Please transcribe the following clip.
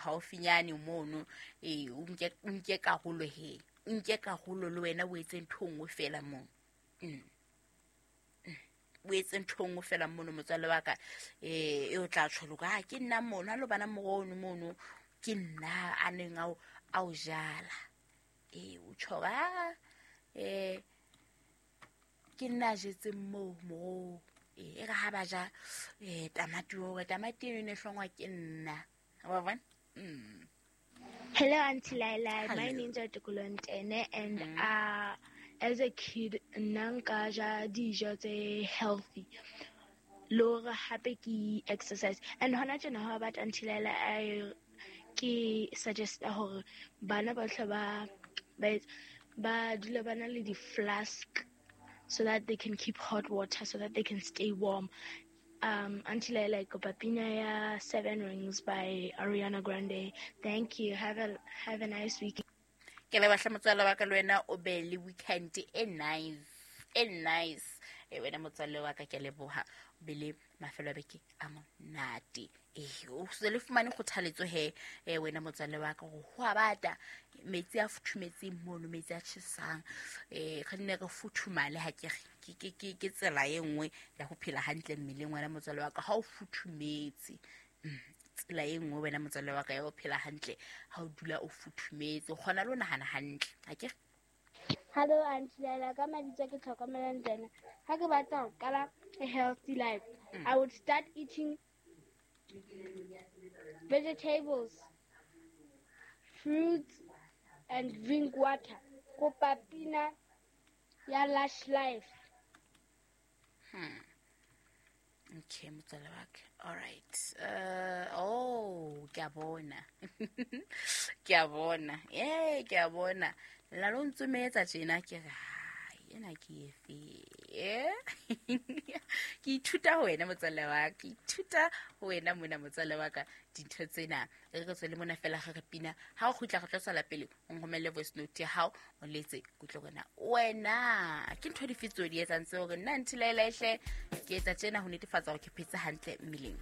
Haufinyane mono, ee, o nke karolo he, o nke karolo le wena, o etse ntho nngwe fela mono. O etse ntho nngwe fela mono, motswalle wa ka, e o tla tjho loka, ah, ke nna mono, ha lo bana morono mono, ke nna a neng a o jala. Ee, o tjho, ah, ke nna a jetseng moo moroho. Ee, e re ha ba ja tamati, hore tamati eno e ne hlongwa ke nna, wa bona. Hello, Auntie Laila. Hello. My name's Articulo Ntene, and as a kid, nna nka ja dijo tse healthy. Le hore hape ke exercise. And hona tjena ha batla, Auntie Laila, I ke suggest hore bana ba hle ba dula ba na le di-flask so that they can keep hot water, so that they can stay warm. Auntie Laila, kopa pina ya Seven Rings by Ariana Grande. Thank you. Have a nice weekend. Ke leboha, motswalle wa ka, le wena o be le weekend e nice, e nice. E wena motswalle wa ka, ke a leboha, o be le mafelo a beke a monate. Ee, o se le fumane kgothaletso he, e wena motswalle wa ka, gore ho a bata, metsi a futhumetseng mono, metsi a tjhesang, re nne re futhumale. Ha ke re ke tsela e nngwe ya ho phela hantle mmeleng, wena motswalle wa ka, ha o futhumetse. Tsela e nngwe, wena motswalle wa ka, ya ho phela hantle, ha o dula o futhumetse, o kgona le ho nahana hantle, ha ke re? Hello, Auntie Laila. Ka mabitso ke Tlhokomelo Ntene. Ha ke batla ho qala a healthy life, I would start eating vegetables, fruits and drink water. Kopa pina ya Lush Life. Okay, motswalle wa ka, all right. Oh, ke a bona, ke a bona, ee, ke a bona la lo ntsometsa tjena, ke re hai, ena ke efe? Ke ithuta ho wena, motswalle wa ka, ke ithuta ho wena mona, motswalle wa ka, dintho tsena. Re tswele mona fela ge re pina, ha o kgutla re tlo tswela pele. O nromelle voice note ya hao, o letse kutlwe rona wena ke ntho dife tseo di etsang tseo, gore nna Auntie Laila ehle ke etsa tjena ho netefatsa gore ke phetse hantle mmeleng.